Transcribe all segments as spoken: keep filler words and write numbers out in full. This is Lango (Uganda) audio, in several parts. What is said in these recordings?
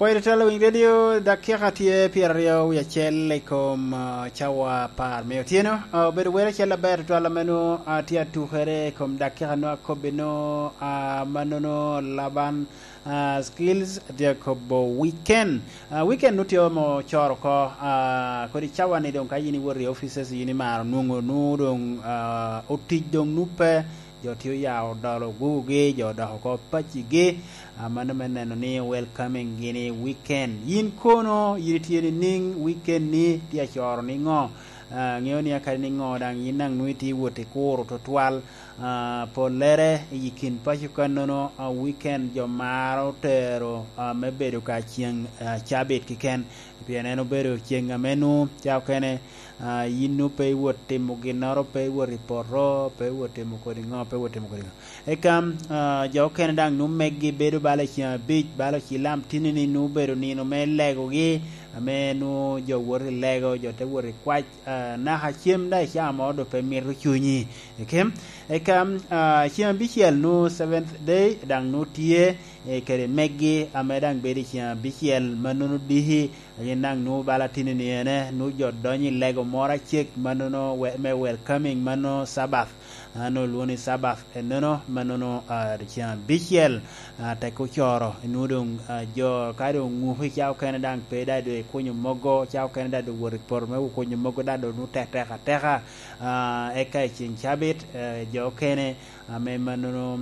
Pwod itwal Winy Radio, dakika tye pyeraryo wie acel i kom, ah, cawa apar me otyeno. Ah, obedo wele acel aber tutwal ame nwoŋo, ah, tye atukere i kom dakika nwoŋo akobbi nwoŋo, ah, mannono Laban, ah, Skills atye akobo weekend. Ah, weekend nwoŋo tye ome ocoro oko, ah, kodi cawa-ni doŋ ka yin iwot i offices yin imaro nwoŋo nwoŋo doŋ, ah, otic doŋ nwoŋo pe. Jo tye oya odolo gugugi, jo odok oko pacigi, ah, mano me neno ni welcoming gini weekend. Yin kono, yin itye niŋ weekend ni tye acoro niŋo? Ah, ŋeo ni akadi niŋo daŋ yin daŋ nwoŋo itye wot i kuro tutwal. Ah, pollere i kin paco kannono, ah, weekend jo maro tero, ah, me bedo ka ceŋ, ah, cabit keken. Pien en obedo ceŋ ame nwoŋo ca okene, ah, yin nwoŋo pe iwot timo ginnoro, pe iwot i poto, pe iwot timo kodi ŋo, pe iwot timo kodi ŋo. Eka, ah, jo okene daŋ nwoŋo meggi bedo bala i ceŋ abic, bala ocilam tinni-ni nwoŋo obedo nino me legogi, ame nwoŋo jo woto i lego, jo te wot i kwac, ah, naka cem daŋ icamo doŋ pe mito cunyi. Eke, eka, ah, ceŋ abicel nwoŋo seventh day daŋ nwoŋo tye, eh, kede meggi ame daŋ bedo i ceŋ abicel, mannono diki, yin daŋ nwoŋo bala tinni-ni ene, nwoŋo jo donyo i lego moro acek, mannono we-, me welcoming, mano Sabbath. Ah, nwoŋo olwoŋo ni Sabbath ennono, mannono, ah, ceŋ abicel, ah, tek ocoro, nwoŋo doŋ, ah, jo ka doŋ oŋuko i ca okene daŋ pe daŋ doŋ ikunyo mogo, ca okene daŋ doŋ wot i poto me kunyo mogo daŋ doŋ nwoŋo tek tek ateka. Ah, eka i ceŋ cabit, eh, jo okene ame mannono,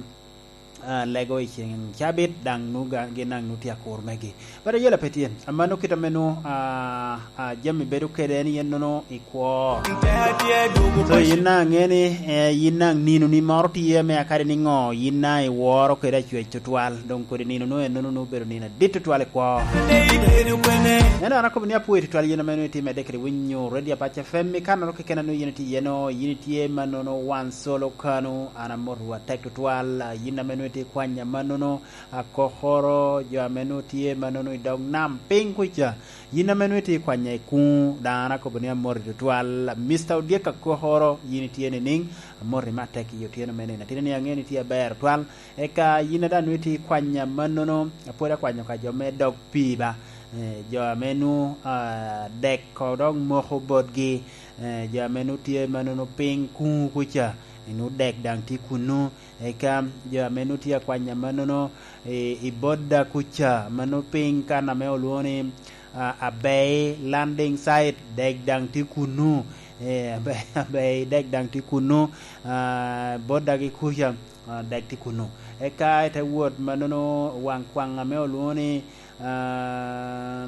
ah, lego i ceŋ cabit, daŋ nu ga-, gin daŋ nu tye akur megi. But ayela pe tye. Amano kit ame nu, ah, ah, jami bedo kede en yen nono i kwo. So, yin na aŋe ni, eh, yin na nino ni moro tye ame akadi ni ŋo, yin na iworo kede acwec tutwal. Doŋ kodi nino nu en nono nu obedo nino adit tutwal i kwo. Ento an akobo ni apwoyo tutwal yin ame nu itime dek kede winyo Radio Apac F M, i kanoro keken anu yin itye iye no, yin itye mannono wan solo kanu, an amotowa tek tutwal, a, yin ame nwoŋo itye i kwanya mannono, akokoro, jo ame nwoŋo tye mannono i dog nam piny kuca, yin ame nwoŋo itye i kwanya i kuŋ, daŋ an akobo ni amoti tutwal. Mister Odyek akokoro, yin itye nining? Amoti matek i otyeno me nino. Atin ni aŋeo ni itye aber tutwal. Eka yin a daŋ nwoŋo itye i kwanya mannono, apwod akwanyo ka jo me dog pii ba. Eh, jo ame nwoŋo, ah, dek ko dok moko botgi, eh, jo ame nwoŋo tye mannono piny kuŋ kuca, nwoŋo dek daŋ tye kunnu. Eka jo ame nwoŋo tye akwanya mannono i, i Bodda kuca, ma nwoŋo piny kan ame olwoŋo ni, ah, Abei Landing Site, dek daŋ tye kunnu. Eh, Abei, Abei dek daŋ tye kunnu. Ah, Bodda gi kuca, ah, dek tye kunnu. Eka ite wot mannono waŋ kwaŋ ame olwoŋo ni, ah,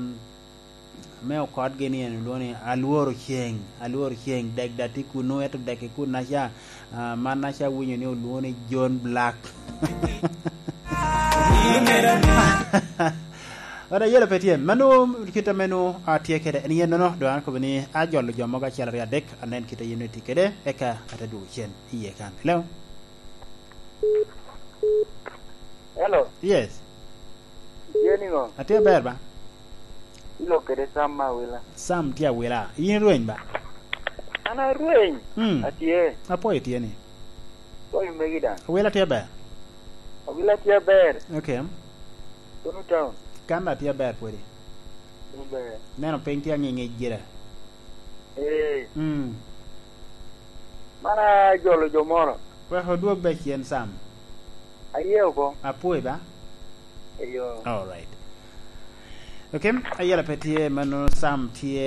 me okotgi ni en olwoŋo ni Alworo Ceng, Alworo Ceng, dek daŋ tye kunnu, ento dek i kunnaca, ah, mannaca awinyo ni olwoŋo ni John Black. Ot ayela pe tye. Mano kit ame nwoŋo atye kede en yen nono, doŋ an akobo ni ajolo jo mogo acel aryo adek, anen kit a yen nwoŋo itye kede, eka ate dwogo cen iye kan. Hello? Hello. Yes. Itye niŋo? Atye ber ba? Ilok kede Sam me Awila. Sam tye Awila. Yin irweny ba? An arweny. Mm. Atye. Apwoyo tye ni. Pwoyo megi daŋ. Awila tye ber? Awila tye ber. Okay. Kono town. Kan atye ber pwodi. Tye ber. Neno piny tye aŋiŋic gire. Eh. Mm. Man ajolo jo moro. Wek odwog be cen Sam. Aye oko. Apwoyo ba? Eyo. All right. Okay, ayela pe tye, mano Sam tye